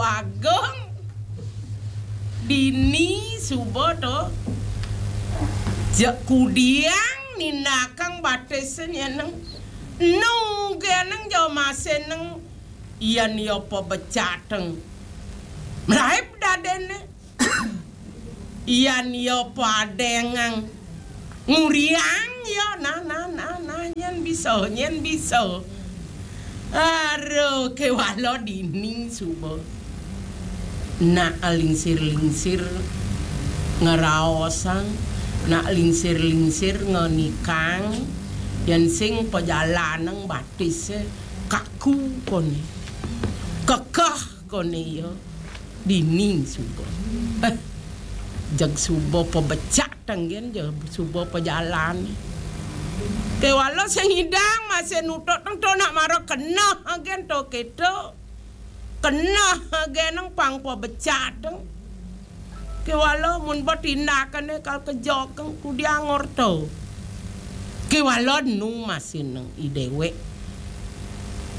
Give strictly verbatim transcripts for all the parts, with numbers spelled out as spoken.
Agung, dini suba to. Jek kudiang nindakang batis nyeneng. Nu geneng ja maseneng, yan ya pabecateng. Mlaib dadene. Yan ya padengang. Nguriang ya, nah, nah, nah, nah, nyen bisa, nyen bisa. Aduh, kewala dini suba. Nak lingsir-lingsir ngeraosang, nak lingsir-lingsir ngenikang, yan sing pajalaneng batise kaku kone. Kekeh kone ya. Dini suba. Eh, jeg suba pabecateng gen, jeg suba pajalan. Kewala sing idang masih nutut teng to nak mara keneh gen to keto. Keneh geneng pang pabecateng. Kewala mun ba tindakane kal kejokeng kudiang orto. Kewala nu masih neng i dewek.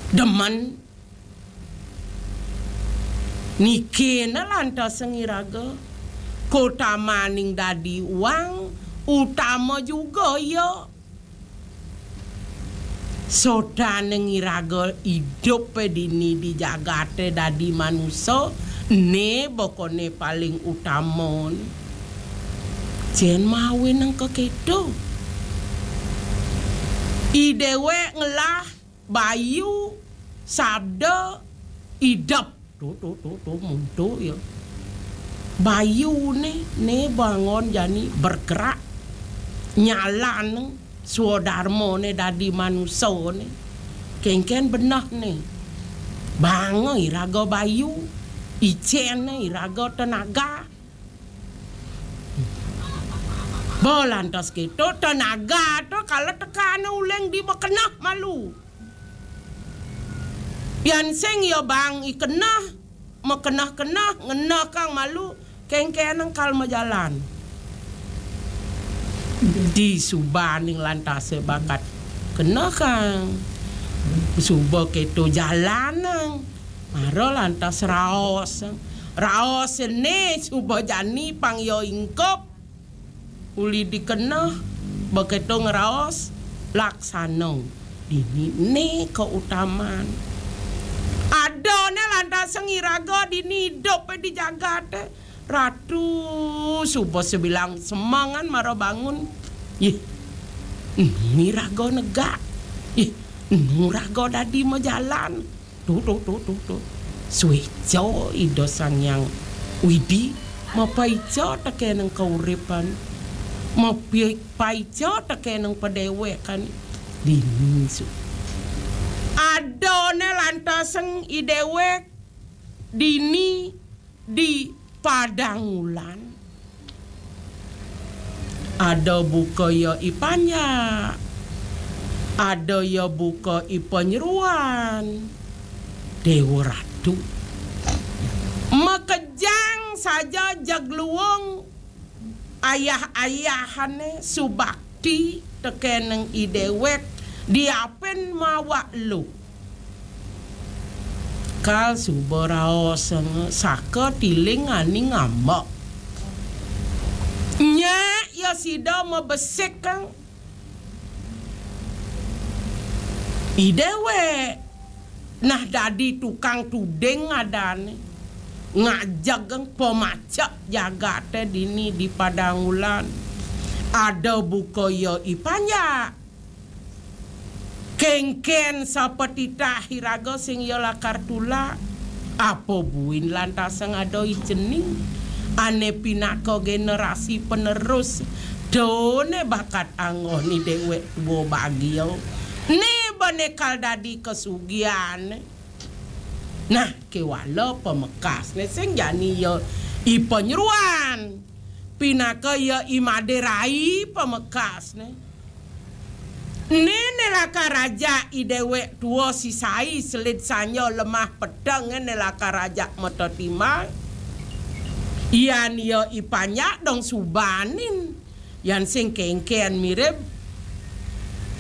Demen. Niki ne lantas ngiraga. Kotamaning dadi uang utama juga ya. Sotane ngiraga idup dini di jagate dadi manusa, ne bokone paling utama. Jen mawe neng keketo. I dewek ngelah bayu, sabda, idep. Tuh, tuh, tuh, tuh, muntuh ya. Bayu ne, ne bangun jani bergerak. Nyalan swadarma ne dadi manusa ne. Kengken benah ne. Bang iraga bayu, icen ne iraga tenaga. Bo lantas keto tenaga to kala tekane uleng di bekenah malu. Yan sing ya bang i kenah, mekenah-kenah, ngenah kang malu, kengkeneng kal majalan. Di subaning lantase bakat kenah kang. Suba keto jalanang. Mara lantas raos. Raos ne suba jani pang ya ingkup. Uli dikeneh, beketo ngraos, laksana. Dini ne kautaman. Ada ne lantas iraga dini idup di jagate. Ratu suba sebilang semengan mara bangun. Yeh, ni raga negak. Yeh, nu raga dadi majalan. Tuh, tuh, tuh, tuh, tuh. Sueca Ida Sang Hyang Widi mapaica tekeneng kauripan. Mapaica tekeneng padewekan. Dini su. Adane lantaseng i dewek dini di Padang Ulan. Ada buka ya i panjak, ada ya buka i panyeruan. Dewa Ratu makejang saja jagluung ayah-ayahane subakti tekeneng i dewek diapin mawa lu. Kal suba raosang saka tiling ani ngambek. Nyak ya sida mabesik kang i dewek nah dadi tukang tuding adane ngajegeng pamacek jagate dini di Padang Ulan. Ada buka ya i panjak. Kengken sapatitah iraga sing ya lakar tulak, apa buin lantasang ada i cening, ane pinaka generasi penerus, done bakat anggon i dewek tua bagia, ne bane kal dadi kasugihan. Nah, kewala pamekasne sing jani ya i panyeruan, pinaka ya i maderai pamekasne. Nene lakar ajak i dewek tua sisai selid sanja lemah peteng ne lakar ajak mata timbal. Yan ya i panjak dong subanin. Yan sing kengken mirib.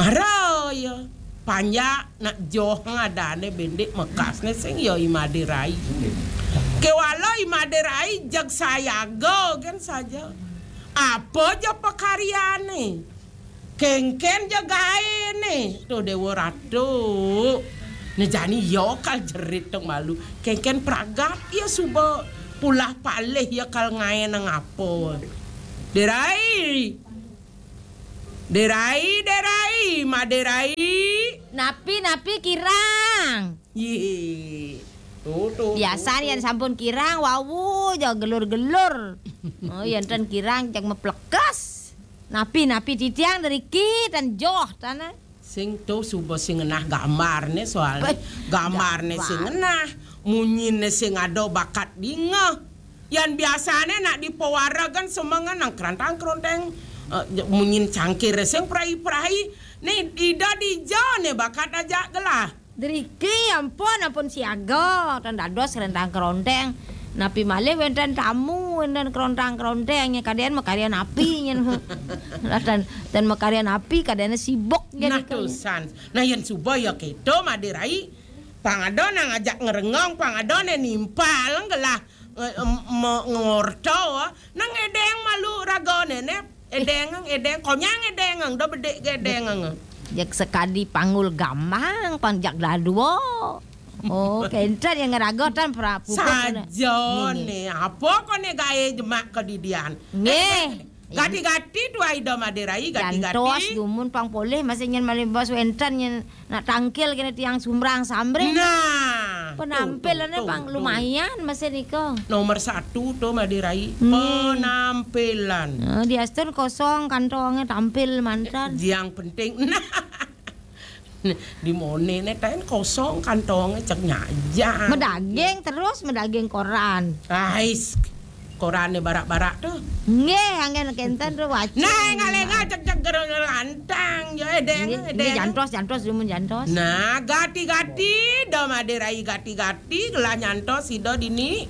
Mara ya panjak nak joh ngadane bendik mekasne sing ya i maderai. Kewala i Made Rai jeg sayaga gen saja. Apa ja pakaryane? Kengken ja gaene? Tuh Dewa Ratu. Nah jani ya kal jerit dong malu. Kengken pragat ya suba pulah palih ya kal ngaenang apa. Derai. Derai, Derai, Made Rai. Napi, napi kirang? Yih. Tuh, tuh, Biasan tuh, yen tuh. Sampun kirang, wau, ja gelur-gelur. Oh, yen ten kirang, cek meplekes. Napi, napi titiang deriki, ten joh, tanah. Sing tuh suba sing ngenah gambarne soalne. Beh, gambarne sing gambar. Ngenah, munyine sing ada bakat dingeh. Yan biasane nak di pewara kan semengan nang kerantang keronteng, eh, munyin cangkir sing prai-prai. Nih ida dija ne bakat aja gelah. Driki ampun, ampun siaga, tan dados kerentang keronteng. Napi malih wenten tamu, wenten kerontang keronteng, nya kadean makarya napi nyen. Lah tan, tan makarya napi, kadean sibuk jadi. Nah, tusan. Nah, yen suba ya keto, Made Rai. Pang ada nang ajak ngerengong, pang ada ne nimpal, gelah, eh, em, me-, ngorto, nang edeng malu ragane ne. Edeng, edeng, konyang edeng, do bedik ge edeng. Jek sekadi panggul gamang, pang jak dadua. Oh, kenten yang ngeraga tan pra-, puput kena. Saja nggih, nggih. Ne, apa kone gae jemak kedidian? Nggih. Eh, gati-gati tuai do Made Rai, gati-gati. Jantos dumun pang polih masih nyen malih bos wenten nyen nak tangkil kena tiang sumrang samrih. Nah, tuh, penampilannya tuh, pang tuh, lumayan masih niko. Nomor satu tuh Made Rai, nggih. Penampilan. Nah, diastun kosong kantongnya tampil mantan. Yang penting, nah, di mone ne tain kosong kantongnya cek nyajang. Medaging terus, medaging koran. Ais, korane barak-barak tuh. Nggih, anggen kenten tuh wajib. Nah, enggak lengah cek-cek gerung-gerung antang. Ya, edeng, nggih, edeng. Nggih, jantos, jantos, dumun jantos. Nah, gati-gati, do Made Rai gati-gati, gelah nyantos, sida dini.